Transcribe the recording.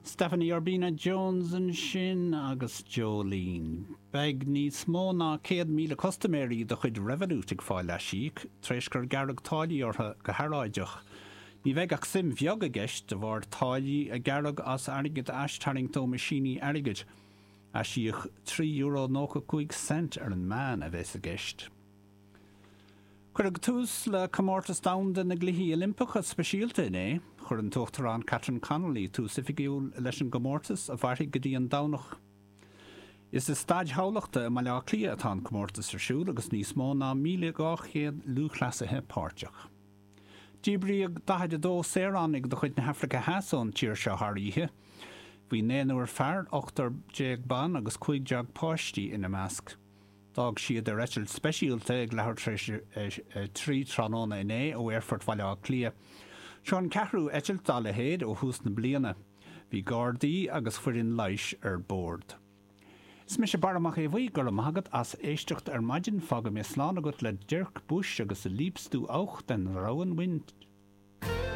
Stephanie Urbina Jones ansin agus Jolene. Beidh níos mó ná 100,000 custaiméirí de chuid Revolut ag fáil aisíoc tar éis gur gearradh táillí orthu go hearráideach. Ní bheidh ach suim bheag i gceist de bharr táillí a gearradh as airgead a aistarraingt ó mheaisíní airgid. Aisíoc €3.95 ar an meán a bheas i gceist. Cuireadh tús le Comórtas Domhanda na gCluichí Oilimpeacha Speisialta inné. Chuir an tUachtarán Catherine Connolly tús oifigiúil leis an gcomórtas, a mhairfidh go dtí an Domhnach. Is i Staid Thamhlachta i mBaile Átha Cliath atá an comórtas ar siúl agus níos mó ná 1,200 lúthchleasaithe páirteach. Díbríodh 42 saoránaigh de chuid na hAfraice Theas ón tír seo thar oíche. Bhí naonúr fear, ochtar déag ban agus 15 páistí ina measc. D'fhág siad ar eitilt speisialta ag leathuair tar éis a 3 tráthnóna inné ó Aerfort Bhaile Átha Cliath. Seo an ceathrú eitilt dá leithéid ó thús na bliana. Bhí gardaí agus foireann leighis ar bord. Is mise Barra Mac Aodha Bhuí, go raibh maith agat as éisteacht ar maidin. Fágfaidh mé slán agat le Dirk Busch agus Liebst Du auch den rauen Wind.